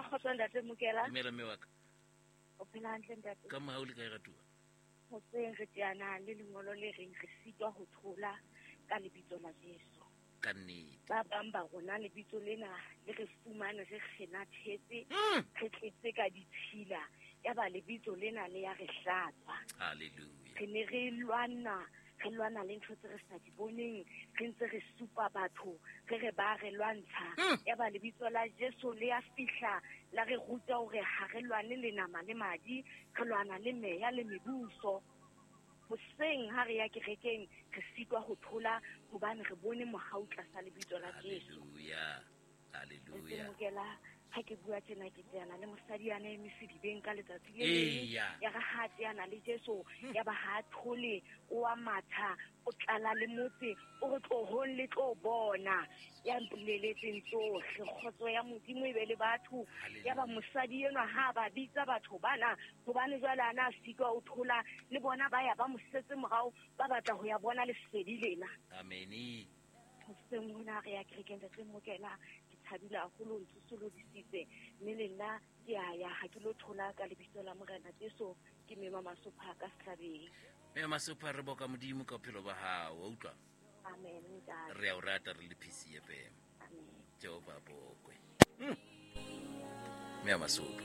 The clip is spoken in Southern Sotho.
Kgotso ntate Mokela. Dumela mme wa ka. O phela hantle ntate? Ka mohau le kae ratuwa? Hoseng re teana le lengolo le reng re sitwa ho thola ka lebitso la Jesu. Ka nnete. Ba bang ba rona lebitso lena le re fumane re kgenathetse, re tletse ka ditshila, yaba lebitso lena le ya re hlatswa. Hallelujah. Re ne re lwana, re lwana le ntho tse re sa di boneng, re ntse re supa batho, re re ba re lwantsha. Yaba lebitso la Jesu le ya fihla, la re ruta hore ha re lwane le nama le madi, re lwana le meya le mebuso. Hoseng ha re ya kerekeng, re sitwa ho thola hobane re bone mohau tlasa lebitso la Jesu. Hallelujah. Hallelujah. Mokela, ha ke bua tjena ke teana le mosadi ya ne eme sedibeng ka letsatsi le leng. Eya. Ya re ha teana le Jesu, ya ba ha thole, o a matha, o tlala le motse, o re tlohong le tlo bona. Ya mpoleletseng tsohle, kgotso ya Modimo e be le batho. Ya ba mosadi enwa ha ba bitsa batho bana, hobane jwale a na sitwa o thola, le bona ba ya ba mo setse morao, ba batla ho ya bona lesedi lena. Amen. Hoseng hona re ya kerekeng ntate Mokela, ke thabile haholo, o ntsosolodisitse, mme le nna ke a ya, ha ke lo thola ka lebitso la Morena Jesu, ke mema Masopha ka sehlabeng. Mema Masopha, re boka Modimo ka bophelo ba hao, wa utlwa? Amen, ntate. Re a o rata re le PCFM. Amen. Jehova bokwe. Mema Masopha.